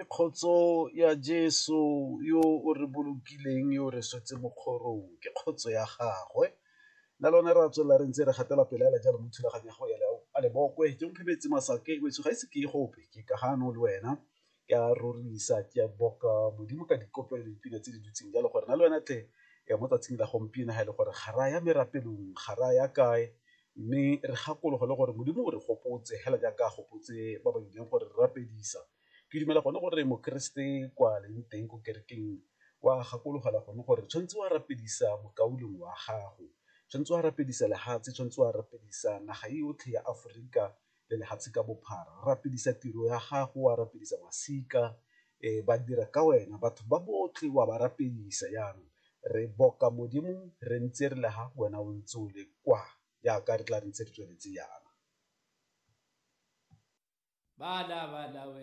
Ke kgotso ya Jeso yo o re bolokileng yo o re swetse mokgorong, ke kgotso ya gagwe. Nna le wena re a tswelela re ntse re gatela pele fela jalo mo thulaganyo ya go ya a lebokwe ke Omphemetse Masake wetsho ga ise ke ye gope ke ka gano le wena ke a rorisa ke a boka Modimo ka dikopelo le dipina tse di dutseng jalo gore nna le wena tle mo tsatsing la gompieno ga e le gore ga re a ya merapelong ga re a ya kae, mme re gakologelwe gore Modimo o re gopotse fela jaaka a gopotse ba ba ileng gore re rapedisa. Ke dumela gone gore mokeresete kwa leng teng ko kerekeng o a gakologelwa gone gore tshwanetse o a rapedisa mokaulengwe wa gago, tshwanetse o a rapedisa lefatshe, tshwanetse o a rapedisa naga e yotlhe ya Aforika le lefatshe ka bophara, rapedisa tiro ya gago, o a rapedisa masika, ba dira ka wena, batho ba botlhe o a ba rapedisa. Jaanong re boka Modimo re ntse re le fa wena o ntse o le kwa jaaka re tla re ntse re tsweletse jaana. Bala bala.